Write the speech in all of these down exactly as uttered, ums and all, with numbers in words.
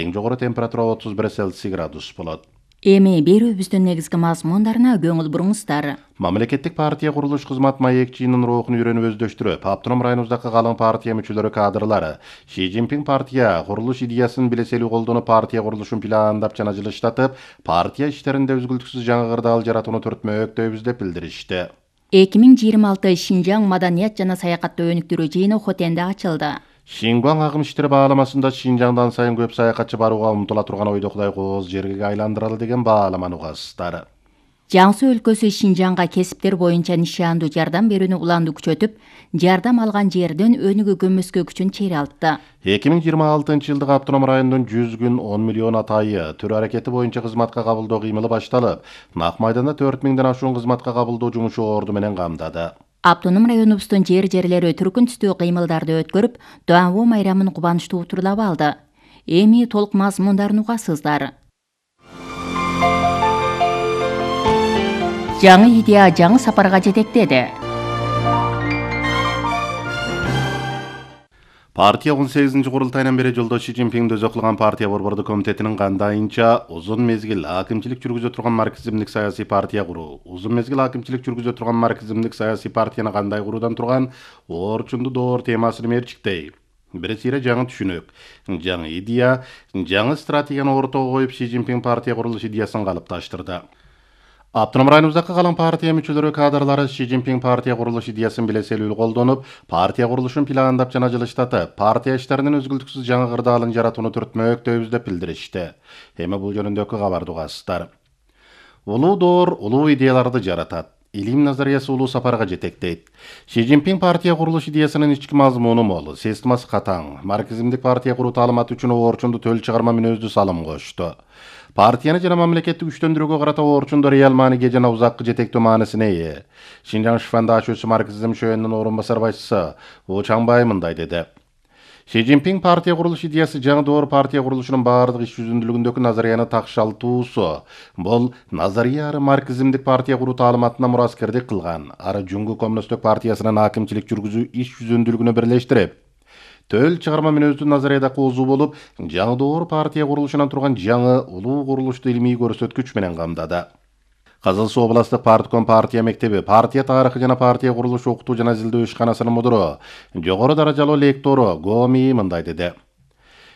Эң жогору температура отуз бир Цельсий градус болот. Эми берүүбүздүн негизги мазмундарына көңүл буруңуздар. Мамлекеттик партия курулуш кызмат маекчинин рухун үйрөнүп өздөштүрүп, автоном районубуздагы калың партия мүчөлөрү кадрлары Ши Цзиньпин партия курулуш идеясын билеселүү колдонуп, партия курулушун пландап жана жылыштатып, партия иштеринде үзгүлтүксүз жаңы кырдаал жаратууну түртмөктөйбүз деп билдиришти. эки миң жыйырма алты Шинжаң маданият жана саякатты өнүктүрүү жыйыны Хотенде ачылды. Шингуаң агым иштери бааламасында Шинжаңдан сайын көп саякатчы барууга умтула турган ойдо Кудай кооз жерге айландыралы деген бааламаны угасыздар. Жаңсы өлкөсү Шинжаңга кесиптер боюнча нишандуу жардам берүүнү уланды күчөтүп, жардам алган жерден өнүгүү көмөскө күчүн чейралтты. эки миң жыйырма алтынчы жылдык автоном райондун жүз күн он миллион атайы төр аракети боюнча кызматка кабылдоо кыймылы башталып, Нак майданда төрт миңден ашуун кызматка кабылдоо жумушу орду менен камдады. Автоном районубуздун жер-жерлери түркүн түстүү кыймылдарды өткөрүп, Дуанву майрамын кубанычтуу утурлап алды. Эми толук мазмундарын угасыздар. Жаңы идея жаңы сапарга жетектеди. Партия он сегизинчи курултайынан бери жолдош Ши Цзиньпиндин өзү кылган партия борбордук комитетинин кандайынча узун мезгил акимчилик жүргүзө турган марксизмдик саясий партия куруу, узун мезгил акимчилик жүргүзө турган марксизмдик саясий партияны кандай куруудан турган оорчунду доор темасын мерчиктей. Бирисире жаңы түшүнүк, жаңы идея, жаңы стратегияны ортого коюп Ши Цзиньпин партия курулуш идеясын калыпташтырды. Автоном районубуздагы калың партия мүчөлөрү кадрлары Ши Цзиньпин партия курулуш идеясын билеселүү колдонуп, партия курулушун пландап жана жылыштатып, партия иштеринин үзгүлтүксүз жаңы кырдаалын жаратууну түртмөктөйбүз деп билдиришти. Эми бул жөнүндөгү кабарды угасыздар. Улуу доор улуу идеяларды жаратат. Илим назариясы улуу сапарга жетектейт. Ши Цзиньпин партия курулуш идеясынын ички мазмуну мол, системасы катаң. Марксизмдик партия куруу таалыматы үчүн оорчунду төл чыгарма мүнөздүү салым кошту. Партияны жана мамлекетти күчтөндүрүүгө карата оорчунду реал мааниге жана узаккы жетектөө маанисине ээ. Шинжаң Шифандашүүсү марксизм шөөнүнүн орун басар башчысы У Чаңбай мындай деди. Ши Цзиньпин партия курулуш идеясы жаңы доор партия курулушунун баардык иш жүзүндүүлүгүндөгү назарияны такшалтуусу. Бул назария ары марксизмдик партия куруу таалыматына мураскердик кылган, ары Жүнгү коммунисттик партиясынын акимчилик жүргүзүү иш жүзүндүүлүгүнө бирлештирип, төл чыгарма мүнөздүү назарияда коозу болуп, жаңы доор партия курулушунан турган жаңы улуу курулушту илимий көрсөткүч менен камдады. Кызыл Суу областык партком партия мектеби, партия тарыхы жана партия курулуш окутуу жана изилдөө ишканасынын мудуру, жогору даражалуу лектору Гоми мындай деди.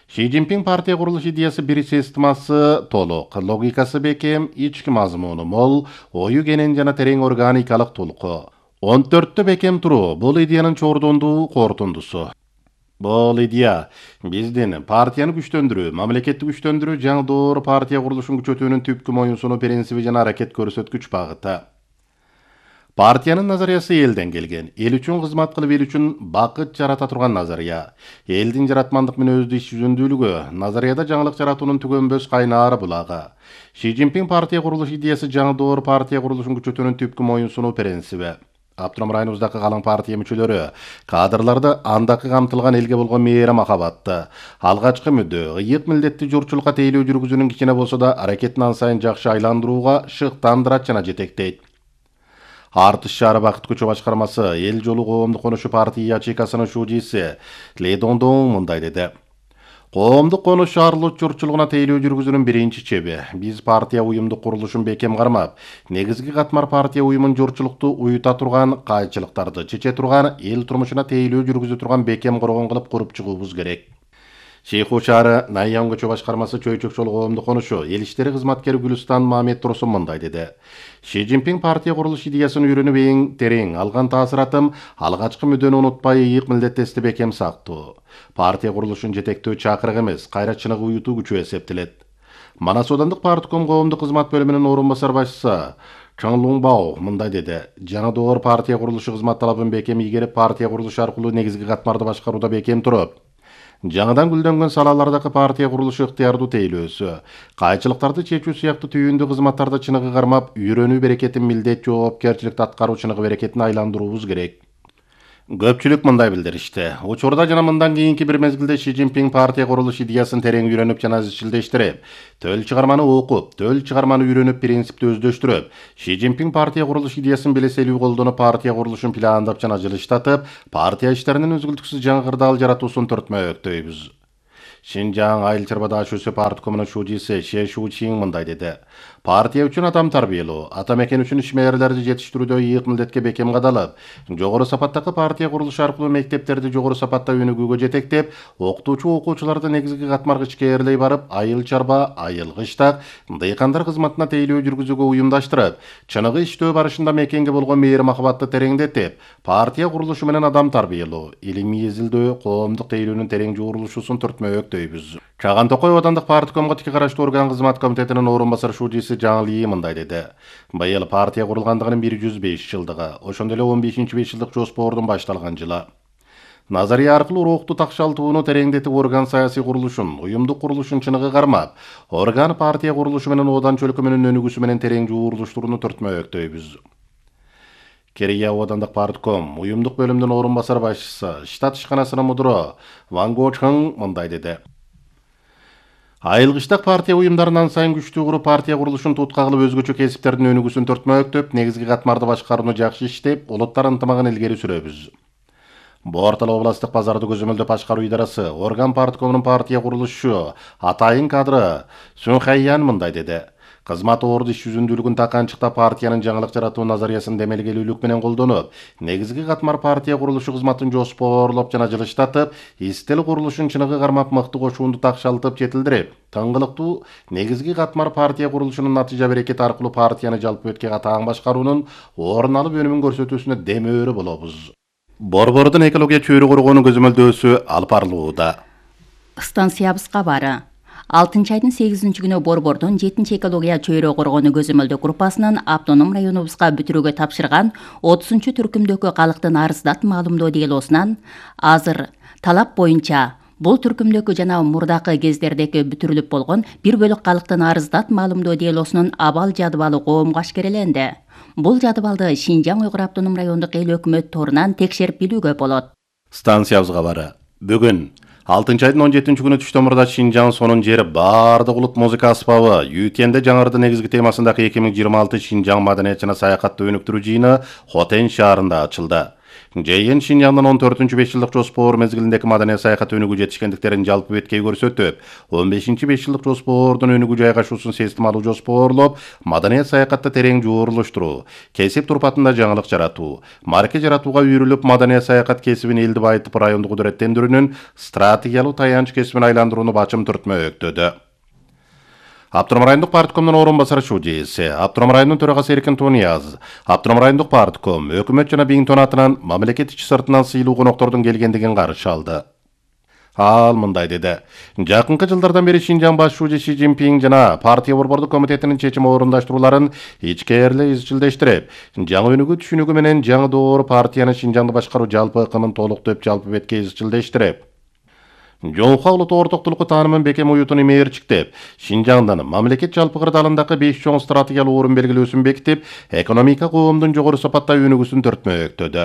Ши Цзиньпин партия курулуш идеясы бир системасы толук, логикасы бекем, ички мазмуну мол, ою кенен жана терең органикалык толку. он төрттө бекем туруу бул идеянын чордондуу кортундусу. Бул идея биздин партияны күчтөндүрүү, мамлекетти күчтөндүрүү, жаңы доор партия курулушун күчөтүүнүн түпкү моюнсунуу принциби жана аракет көрсөткүч багыты. Партиянын назариясы элден келген, эл үчүн кызмат кылып, эл үчүн бакыт жарата турган назария. Элдин жаратмандык мүнөздүү иш жүзүндүүлүгү, назарияда жаңылык жаратуунун түгөнбөс кайнаары булагы. Ши Цзиньпин партия курулуш идеясы жаңы доор партия курулушун күчөтүүнүн түпкү моюнсунуу принциби. Автоном районубуздагы калың партия мүчөлөрү, кадрларды андакы камтылган элге болгон мээри махабатты, алгачкы мүдөө, ыйык милдетти журтчулукка тейлөө жүргүзүүнүн кичине болсо да аракетин ан сайын жакшы айландырууга шыктандырат жана жетектейт. Артыш шаары бакыт көчө башкармасы эл жолу коомдук конушу партия ячейкасынын шужиси Ли Дондон мындай деди. Коомдук конуш шаарлык журтчулугуна тейлөө жүргүзүүнүн биринчи чеби. Биз партия уюмдук курулушун бекем кармап, негизги катмар партия уюмун журтчулукту уюта турган, кайчылыктарды чече турган, эл турмушуна тейлөө жүргүзө турган бекем коргон кылып куруп чыгуубуз керек. Шейху шаары Найяң көчө башкармасы чөйчөк жолу коомдук конушу эл иштери кызматкери Гүлстан Мамед Турсун мындай деди. Ши Цзиньпин партия курулуш идеясын үйрөнүп эң терең алган таасыратым алгачкы мүдөнү унутпай ыйык милдеттести бекем сактоо. Партия курулушун жетектөө чакырык эмес, кайратчылыгы уютуу күчү эсептелет. Манас Аудандык партком коомдук кызмат бөлүмүнүн орун басар башчысы Чан Луңбао мындай деди. Жаңы доор партия курулушу кызмат талабын бекем ийгерип, партия курулушу аркылуу негизги катмарды башкарууда бекем туруп, жаңыдан гүлдөнгөн салалардагы партия курулушу ыктыярдуу тейлөөсү, кайчылыктарды чечүү сыяктуу түйүндүү кызматтарда чыныгы кармап, үйрөнүү берекетин милдет жоопкерчиликти аткаруу чыныгы берекетин айландыруубуз керек. Көпчүлүк мындай билдиришти. Учурда жана мындан кийинки бир мезгилде Ши Цзиньпин партия курулуш идеясын терең үйрөнүп жана изчилдештирип, төл чыгарманы окуп, төл чыгарманы үйрөнүп, принципти өздөштүрүп, Ши Цзиньпин партия курулуш идеясын билеселүү колдонуп, партия курулушун пландап жана жылыштатып, партия иштеринин үзгүлтүксүз жаңы кырдаал жаратуусун түртмөктөйбүз. Шинжаң Айыл Чарба Дашысы парткомунун шужиси Ше Шучин мындай деди. Партия үчүн адам тарбиялоо, ата мекен үчүн ишмерлерди жетиштирүүдө ийик милдетке бекем кадалып, жогору сапаттагы партия курулушу аркылуу мектептерди жогору сапатта өнүгүүгө жетектеп, окутуучу окуучуларды негизги катмарга ичкээрлей барып, айыл чарба, айыл кыштак, дыйкандар кызматына тейлөө жүргүзүүгө уюмдаштырып, чыныгы иштөө барышында мекенге болгон мээри махабатты тереңдетип, партия курулушу менен адам тарбиялоо, илимий изилдөө, коомдук тейлөөнүн терең жуурулушусун түртмөктөйбүз. Чаган Токой Оодандык парткомго тики караштуу орган кызмат комитетинин орун басар шужиси Жаңыл Ийи мындай деди. Быйыл партия курулгандыгынын бир жүз беш жылдыгы, ошондой эле он бешинчи беш жылдык жоспордун башталган жылы. Назария аркылуу рукту такшалтууну тереңдетип орган саясий курулушун, уюмдук курулушун чыныгы кармап, орган партия курулушу менен Оодан чөлкөмүнүн өнүгүүсү менен терең жуурулуштууруну түртмөктөйбүз. Керия Оодандык партком уюмдук бөлүмдүн орун басар башчысы, штат ишканасынын мудуру Ван Го Чхың мындай деди. Айыл кыштак партия уюмдарынан сайын күчтүү куруп партия курулушун тутка кылып өзгөчө кесиптердин өнүгүүсүн түртмөктөп, негизги катмарды башкарууну жакшы иштеп, улуттар ынтымагын илгери сүрөбүз. Бортал областык базарды көзөмөлдөп башкаруу идарасы, орган парткомунун партия курулушу, атайын кадры Сүн Хайян мындай деди. Кызмат орду иш жүзүндүүлүгүн таканчыктап партиянын жаңылык жаратуу назариясын демелгелүүлүк менен колдонуп, негизги катмар партия курулушу кызматын жоспорлоп жана жылыштатып, истил курулушун чыныгы кармап мыкты кошуунду такшалтып жетилдирип, тыңгылыктуу негизги катмар партия курулушунун натыйжа берекети аркылуу партияны жалпы өткө катаң башкаруунун орун алып өнүмүн көрсөтүүсүнө демөөрү болобуз. Борбордун экология чөйрө коргоонун көзөмөлдөөсү алып барылууда. Станциябыз кабары. алтынчы айдын сегизинчи күнү Борбордун жетинчи экология чөйрө коргоonu көзөмөлдөө группасынын автоном районубузга бүтүрүүгө тапшырган отузунчу түркүмдөгү калктын арыздат маалымдоо делосунан азыр талап боюнча бул түркүмдөгү жана мурдакы кездердеги бүтүрүлүп болгон бир бөлүк калктын арыздат маалымдоо делосунун абал жадыбалы коомго ашкереленди. Бул жадыбалды Шинжаң Уйгур автоном райондук эл өкмөт торунан текшерип билүүгө болот. Станциябыз кабары. Бүгүн алтынчы айдын он жетинчи күнү түштөмурда Шинжаң сонун жери баардык улут музыка аспабы Ю Т Н'де жаңырды негизги темасындагы эки миң жыйырма алты Шинжаң маданият жана саякатты өнүктүрүү жыйыны Хотен шаарында ачылды. Жыйын Шинжаңдын он төртүнчү беш жылдык жоспор мезгилиндеги маданият саякат өнүгүү жетишкендиктерин жалпы беткей көрсөтүп, он бешинчи беш жылдык жоспордун өнүгүү жайгашуусун системалуу жоспорлоп, маданият саякатты терең жуурулуштуруу, кесип турпатында жаңылык жаратуу, марке жаратууга үйрүлүп, маданият саякат кесибин элди байытып райондук кудуреттендирүүнүн стратегиялуу таянч кесибин айландырууну бачым түртмөктөдү. Автоном райондук парткомдун орун басары шужиси, Автоном районунун төрагасы Эркин Тунияз, Автоном райондук партком, өкмөт жана Биңтон атынан мамлекет ичи сыртынан сыйлуу коноктордун келгендигин каршы алды. Ал мындай деди. Жакынкы жылдардан бери Шинжаң баш шужи Си Цзиньпин жана партия борбордук комитетинин чечим орундаштырууларын ичкээрлей изчилдештирип, жаңы өнүгүү түшүнүгү менен жаңы доор партияны Шинжаңды башкаруу жалпы ыкымын толуктоп жалпы бетке изчилдештирип, Жоңха улуттук ортоктулукку таанымын бекем уютун имээрчиктеп, Шинжаңдын мамлекет жалпы кырдаалындагы беш чоң стратегиялуу орун белгилөөсүн бекитип, экономика коомдун жогору сапатта өнүгүүсүн түртмөктөдү.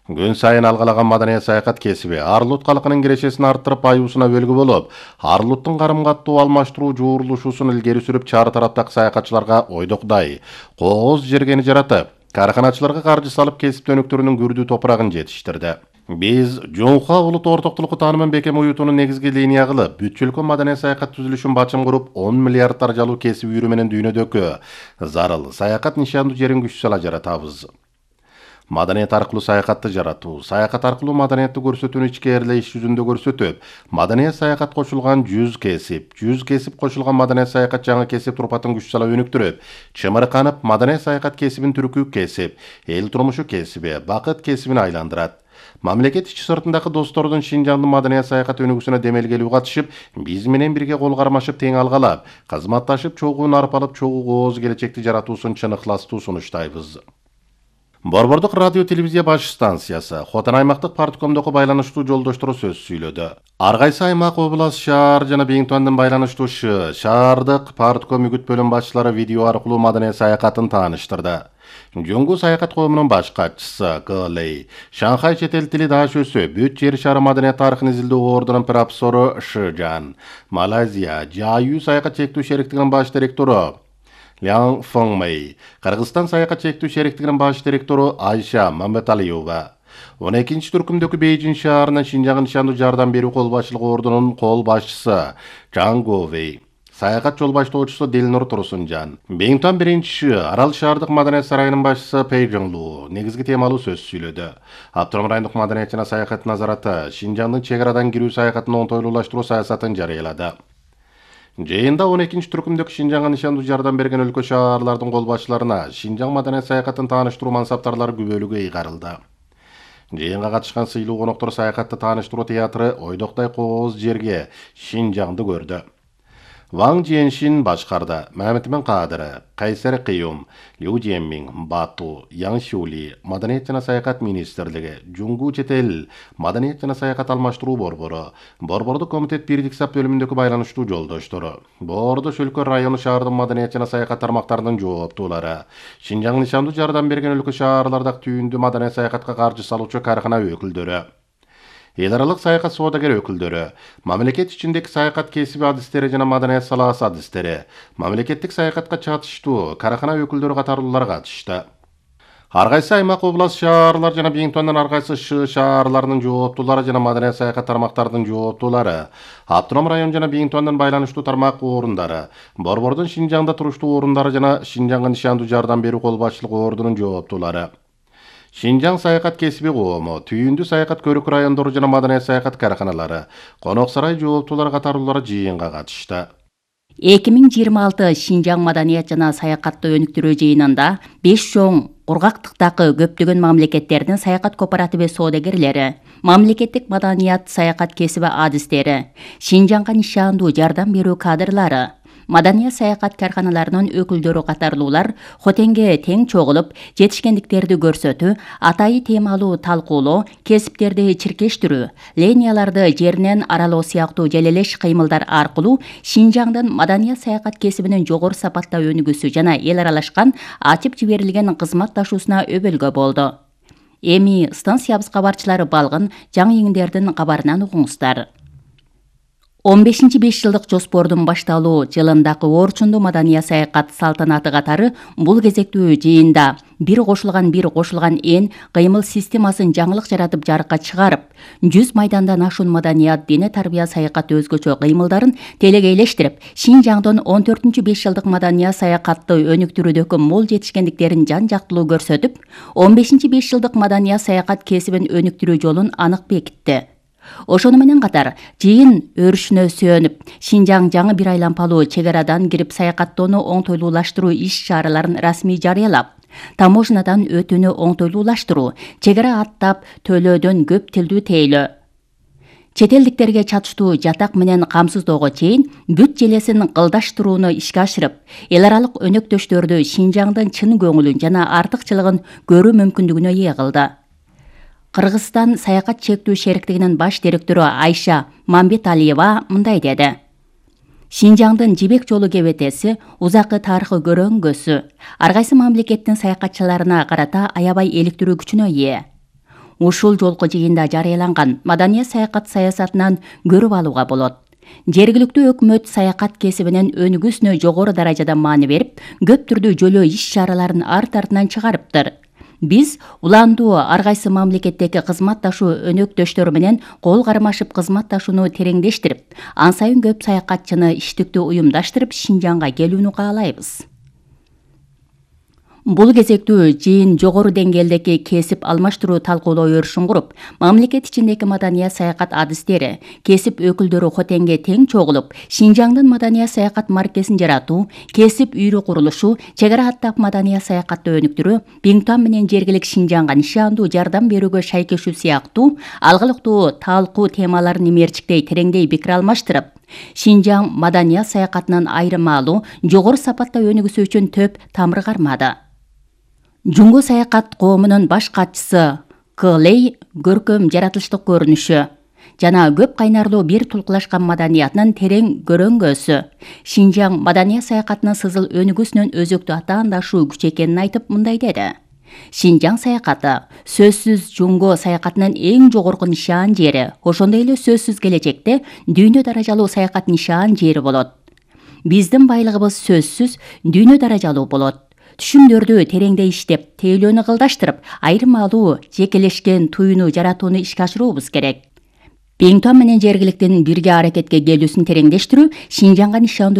Күн сайын алгалаган маданият саякат кесиби Арлут калкынын кирешесин арттырып аюусуна бөлгү болуп, Арлуттун карым-каттуу алмаштыруу жуурулушуусун илгери сүрүп, чар тараптагы саякатчыларга ойдокдай кооз жергени жаратып, карканачыларга каржы салып кесип өнүктүрүүнүн күрдүү топурагын жетиштирди. Биз Жоңха улуттук ортоктулукку таанымын бекем уютунун негизги линия кылып, бүт чөлкө маданият саякат түзүлүшүн бачым куруп, он миллиард даражалуу кесип үйрүү менен дүйнөдөгү зарыл саякат нишандуу жерин күч сала жаратабыз. Маданият аркылуу саякатты жаратуу, саякат аркылуу маданиятты көрсөтүүнү ичкээрлей иш жүзүндө көрсөтүп, маданият саякат кошулган жүз кесип, жүз кесип кошулган маданият саякат жаңы кесип турпатын күч сала өнүктүрүп, чымырканып, маданият саякат кесибин түркүк кесип, эл турмушу кесиби, бакыт кесибин айландырат. Мамлекет ичи сыртындагы достордун Шинжаңдын маданият саякат өнүгүүсүнө демелгелүү катышып, биз менен бирге кол кармашып тең алгалап, кызматташып чогуу нарп алып, чогуу кооз келечекти жаратуусун чын ыхластуу сунуштайбыз. Борбордук радио телевизия баш станциясы Хотен аймактык парткомдогу байланыштуу жолдоштору сөз сүйлөдү. Ар кайсы аймак, област, шаар жана Биңтондун байланыштуу шаардык партком үгүт бөлүм башчылары видео аркылуу маданият саякатын тааныштырды. Жоңгу саякат коомунун баш катчысы Гэлэй, Шанхай чет эл тили даашөсү, бүт жер шары маданият тарыхын изилдөө ордунун профессору Шижан, Малайзия Жаю саякат чектүү шериктигинин баш директору Лян Фэнгмэй, Кыргызстан саякат чектүү шериктигинин баш директору Айша Мамбеталиева, он экинчи түркүмдөгү Бейжин шаарынан Шинжаңга нишандуу жардам берүү кол башчылык ордунун кол башчысы Чжан Говей, саякат жол баштоочусу Дилнур Турсунжан, Бингтон биринчи Арал шаардык маданият сарайынын башчысы Пэй Жонлу негизги темалуу сөз сүйлөдү. Автоном райондук маданият жана саякат назараты Шинжаңдын чек арадан кирүү саякатын оңтойлуулаштыруу саясатын жарыялады. Жыйында он экинчи түркүмдөгү Шинжаңга нишандуу жардам берген өлкө шаарлардын кол башчыларына Шинжаң маданият саякатын тааныштыруу мансаптарлары күбөлүгү ыйгарылды. Жыйынга катышкан сыйлуу коноктор саякатты тааныштыруу театры Ойдоктай кооз жерге Шинжаңды көрдү. Ваң Жиеншин башкарды, Мамедмен Кадыры, Кайсер Кыюм, Лю Жеммин, Бату, Яң Шули, Маданият жана саякат министрлиги, Жуңгу Четел, Маданият жана саякат алмаштыруу борбору, Борбордук комитет бирдик сап бөлүмүндөгү байланыштуу жолдоштору, Боордош өлкө району шаардын маданият жана саякат тармактарынын жооптуулары, Шинжаң нишандуу жардам берген өлкө шаарлардагы түйүндүү маданият саякатка каржы салуучу каркана өкүлдөрү, эл аралык саякат соодагер өкүлдөрү, мамлекет ичиндеги саякат кесиби адистери жана маданият салаасы адистери, мамлекеттик саякатка чатыштуу каркана өкүлдөрү катарлуулар катышты. Ар кайсы аймак, област, шаарлар жана Бингтондон ар кайсы шы шаарларынын жооптуулары жана маданият саякат тармактарынын жооптуулары, Автоном район жана Бингтондон байланыштуу тармак орундары, Борбордун Шинжаңда туруштуу орундары жана Шинжаңга нишандуу жардам берүү кол башчылык ордунун жооптуулары, Шинжаң саякат кесиби коому, түйүндүү саякат көрүк райондору жана маданият саякат карканалары, Конок сарай жооптуулары катарлуулары жыйынга катышты. эки миң жыйырма алты Шинжаң маданият жана саякатты өнүктүрүү жыйынында беш чоң кургактыктагы көптөгөн мамлекеттердин саякат кооперативи соодагерлери, мамлекеттик маданият саякат кесиби адистери, Шинжаңга нишандуу жардам берүү кадрлары, маданият саякат карканаларынын өкүлдөрү катарлуулар хотенге тең чогулуп, жетишкендиктерди көрсөтүү, атайы темалуу талкуулоо, кесиптерди чиркештирүү, линияларды жеринен аралоо сыяктуу желелеш кыймылдар аркылуу Шинжаңдын маданият саякат кесибинин жогору сапатта өнүгүүсү жана эл аралашкан ачып жиберилген кызматташуусуна өбөлгө болду. Эми станциябыз кабарчылары балгын жаңы иңдердин кабарынан угуңуздар. он бешинчи беш жылдык жоспордун башталуу жылындагы орчундуу маданият саякат салтанаты катары бул кезектүү жыйында бир кошулган бир кошулган эн кыймыл системасын жаңылык жаратып жарыкка чыгарып, жүз майдандан ашуун маданият, дене тарбия саякат өзгөчө кыймылдарын телегейлештирип, Шинжаңдын он төртүнчү беш жылдык маданият саякатты өнүктүрүүдөгү мол жетишкендиктерин жан жактылуу көрсөтүп, он бешинчи беш жылдык маданият саякат кесибин өнүктүрүү жолун анык бекитти. Ошону менен катар жыйын өрүшүнө сүйөнүп, Шинжаң жаңы бир айлампалуу чек арадан кирип саякаттоону оңтойлуулаштыруу иш-чараларын расмий жарыялап, таможнядан өтүүнү оңтойлуулаштыруу, чек ара аттап төлөөдөн көп тилдүү тейлөө, чет элдиктерге чатыштуу жатак менен камсыздоого чейин бүт желесин кылдаштырууну ишке ашырып, эл аралык өнөктөштөрдү Шинжаңдын чын көңүлүн жана артыкчылыгын көрүү мүмкүндүгүнө ээ кылды. Кыргызстан саякат чектүү шериктигинин баш директору Айша Мамбеталиева мындай деди. Шинжаңдын жибек жолу кебетеси узакы тарыхы көрөңгөсү, ар кайсы мамлекеттин саякатчыларына карата аябай иликтирүү күчүнө ээ. Ушул жолку жыйында жарыяланган маданият саякат саясатынан көрүп алууга болот. Жергиликтүү өкмөт саякат кесибинин өнүгүүсүнө жогору даражада маани берип, көп түрдүү жөлөө иш-чараларын арт артынан чыгарыптыр. Биз уландуу ар кайсы мамлекеттеги кызматташуу өнөктөштөр менен кол кармашып кызматташууну тереңдештирип, ан сайын көп саякатчыны иштиктүү уюмдаштырып Шинжаңга келүүнү каалайбыз. Бул кезектүү жыйын жогору деңгээлдеги кесип алмаштыруу талкуулоо өрүшүн куруп, мамлекет ичиндеги маданият саякат адистери, кесип өкүлдөрү хотенге тең чогулуп, Шинжаңдын маданият саякат маркесин жаратуу, кесип үйрү курулушу, чек ара аттап маданият саякатты өнүктүрүү, Бингтон менен жергилик Шинжаңга нишандуу жардам берүүгө шайкешүү сыяктуу алгылыктуу талкуу темаларын имерчиктей тереңдей пикир алмаштырып, Шинжаң маданият саякатынын айырмалуу, жогору сапатта өнүгүүсү үчүн төп тамыр кармады. Жуңгу саякат коомунун баш катчысы Кылей көркөм жаратылыштык көрүнүшү жана көп кайнарлуу бир тулкулашкан маданиятынын терең көрөңгөсү, Шинжаң маданият саякатынын сызыл өнүгүүсүнүн өзөктүү атаандашуу күч экенин айтып мындай деди. Шинжаң саякаты сөзсүз жуңго саякатынын эң жогорку нишан жери, ошондой эле сөзсүз келечекте дүйнө даражалуу саякат нишан жери болот. Биздин байлыгыбыз сөзсүз дүйнө даражалуу болот. түшүмдөрдү тереңдей иштеп, тейлөөнү кылдаштырып, айрым алуу, жекелешкен туюну жаратууну ишке ашыруубуз керек. Биңтуан менен жергиликтин бирге аракетке келүүсүн тереңдештирүү Шинжаңга нишандуу